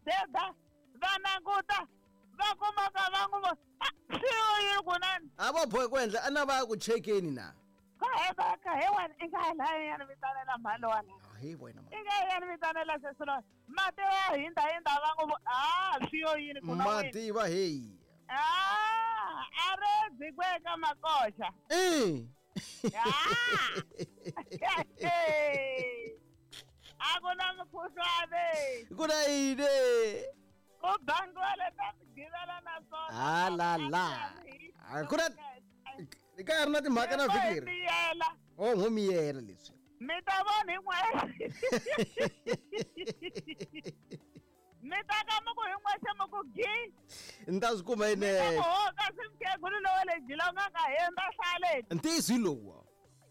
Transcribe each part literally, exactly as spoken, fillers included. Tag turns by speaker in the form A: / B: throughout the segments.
A: deda va languta va kumaka va n'wi swi yini kunani
B: a va bohe ku endla a na va ya ku chekeni na
A: ka he va ka he wena i nga laha ya ni vitanela mhani wala
B: he wena
A: i nga ya ni vitanela sesilo mati ya hinda hinda va n'wi a swi yo yini kuna
B: mati va heyi
A: a a re dzikweka makoxa
B: eh
A: a ku na mukhuhlwane
B: ku na yini
A: ku bangiwa leta migivela na swona
B: ha la la a ku na ka ha ri na timhaka na vhiki leri o ho miyela leswi
A: mi ta vona hi n'wexe mi ta ka mi ku hi n'wexe mi ku gi
B: ni ta swi kuma yinene
A: ho kasi mukhegulu lowa le jilonganga hemba hlale
B: ntiyiso hi lowu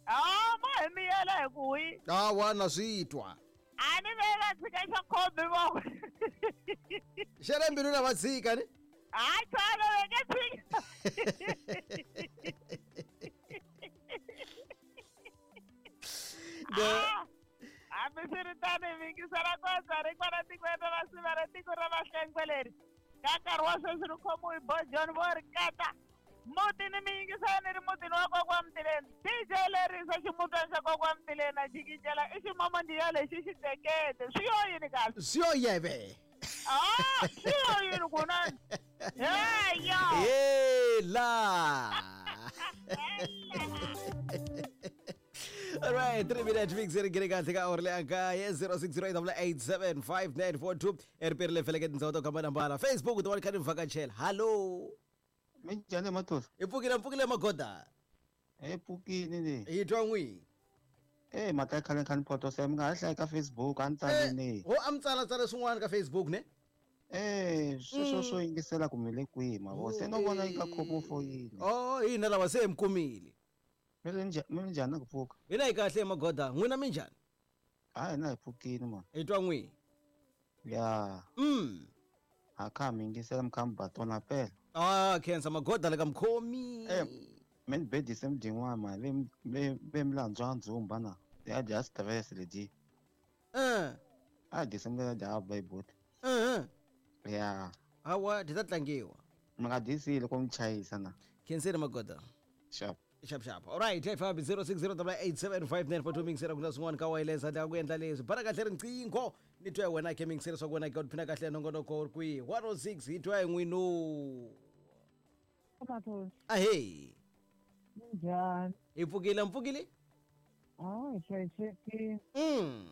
A: a ma hi miyela hi ku hi
B: hawa na swi twa
A: a ni ve va tshika xa khombi voko
B: xa le mbilwini a va tshika ni
A: hayi chana va nge tshika hambiswiritano hi mingisela koza ri kwala tikweni ra masiva ra tiko ra Vahlengwe leri ka nkarhi wa sweswi ri khomiwe hi Bojon vo ri kata mutini mi yingisela ni ri mutini wa kokwa Mtileni D J lerisa ximutwana xa kokwa Mtileni a jikijela i ximomondiya lexi xi tekete swi yo yini kahle
B: swi yo yeve
A: ah swi yo yini kunani heya
B: hela. All right, three minutes mix ri gere kahle ka awara leyi kaye zero six zero eight eight seven five nine four two eriperi le feleke tindhawu to hambanahambana Facebook ti kha ni vhakachela. Hallo
C: minjhani Mathosa?
B: Hi pfukile mpfukile magoda.
C: Hi pfukile ni.
B: Hi twa n'wi.
C: Eh mhaka ya khale khani poto mi nga ha hlayi ka Facebook a ni tsalini.
B: Ho a mi tsala tsala swin'wana ka Facebook ne?
C: Eh sweswo swo yingisela ku mi le kwihi mavo se no vona yi ka khomo foyini.
B: Oh hina lava se hi mi kumile.
C: Mi ri njhani ku pfuka?
B: Hina hi kahle magoda, n'wina minjhani?
C: Hayi hina hi pfukile man.
B: Hi twa n'wi.
C: Ya.
B: Mm.
C: A kha mi yingisela mi kha mi ba tona phela.
B: Ah khensa magoda le ka mukhomi.
C: Eh mi ni bedise mudin'wana mani ve ve ve mi landzwa ndzumba na ya dya stress ledi.
B: Eh.
C: A dyisa mi dya ba ibuti.
B: Eh.
C: Ya.
B: Hawa ti ta tlangiwa.
C: Mi nga dyisile ku mi chayisa na.
B: Khensile magoda.
C: Sharp.
B: Sharp sharp. All right, F B zero six zero eight seven five nine four two mingisela ku na swin'wana ka wireless handle ka ku endla leswi. Bana kahle riqingho ni twa wena ke mingisela swa ku wena ke phina kahle nongonoko ri kwihi. one oh six hi twa n'wino. Ahey.
D: Minjhani?
B: Hi pfukile mpfukile?
D: Ah, hi hlayisekile.
B: Mm.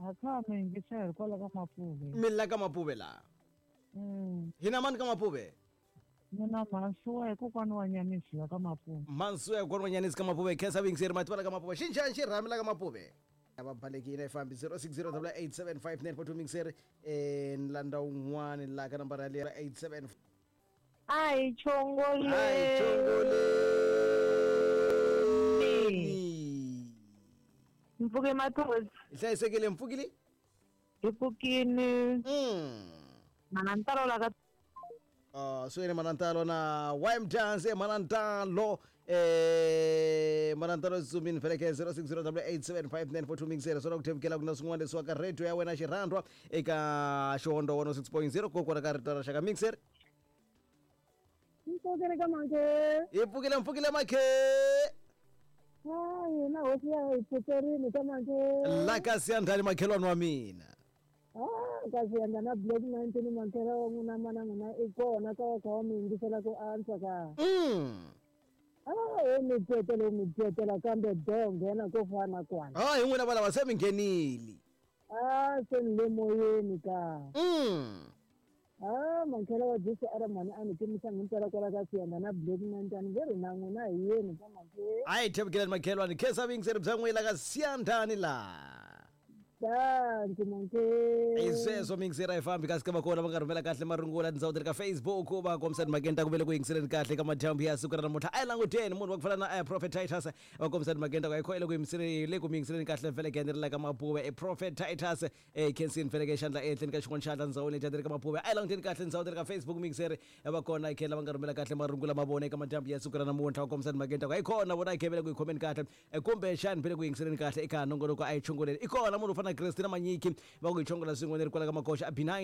D: A kha mi yingisela kwala ka Mapuve.
B: Mi la ka Mapuve la.
D: Mm.
B: Hina mani ka Mapuve?
D: Mina Mansuwa hi kokwana wa Nyanisi la ka Mapuve.
B: Mansuwa hi kokwana wa Nyanisi ka Mapuve. Khensa vingiseri mati va la ka Mapuve. Xinjhani xirhami la ka Mapuve? Va balekile fambi zero six zero eight seven five nine four two mingiseri eh ni landa un'wana la ka nambara leyi eight seven.
D: Ai chongole.
B: Ai chongole.
D: Mpfuke Mathosa.
B: Hi hlayisekile mpfukile?
D: Hi pfukile.
B: Mm.
D: Manantalo la ka
B: Uh, so ene Manantalo na Y M Dance Manantalo eh Manantalo Zumin feleke zero six zero eight seven five nine four two mixer so ku thevukela ku na swin'wana leswi ka radio ya wena xirhandwa eka Xihondo one oh six point zero kokwana ka rito ra xaka mixer.
D: Mpfukile ka Makhe.
B: Hi pfukile mpfukile Makhe.
D: Hayi na hosi ya hi pfukerile ka Makhe.
B: La ka siyandhani makhelwani wa mina.
D: Ah, kasi yanda na Black nineteen mankela wa n'wina mana n'wina i kona ka wa kha wa mi yingisela ku antswa ka.
B: Mm.
D: Ah, he mi tetela mi tetela kambe do nghena ko fana kwana.
B: Ah, hi n'wina valava se mi nghenile.
D: Ah, se ni le moyeni ka.
B: Mm.
D: Ah, mankela wa Jesu a ri mhani a ni timisa himpela kwala ka siyanda na Black nineteen ve ri na n'wina hi yeni ka Makhe.
B: Hayi thevukelani makhelwani khensa vingiseri bya n'wina ka siyandhani la.
D: Danki Makhe.
B: Hi sweswo mingiseri a yi fambi kasi ka va kona va nga rhumela kahle marungula tindhawu ta le ka Facebook va kombisa timhakeni ta ku ve le ku yingiseleni kahle ka madyambu ya siku ra namuntlha. A hi languteni munhu wa ku fana na Prophet Titus va kombisa timhakeni ta ku a yi kho le ku yingiseleni le ku mi yingiseleni kahle feleke ni ri la ka Mapuve. E Prophet Titus e khensini feleke xandla ehenhleni ka xin'wana xandla ndzawini leti ka Mapuve. A hi languteni kahle ndhawu ta le ka Facebook mingiseri va kona hi khela va nga rhumela kahle marungula ma vona eka madyambu ya siku ra namuntlha va kombisa timhakeni ta ku a yi kona vona hi khevele ku yi khomeni kahle kumbe xani vele ku yingiseleni kahle eka nongonoko a yi chongoleni. I kona munhu u fana na Christina Manyiki va ku hi chongola swin'we ni ri kwala ka Makoxa a B nine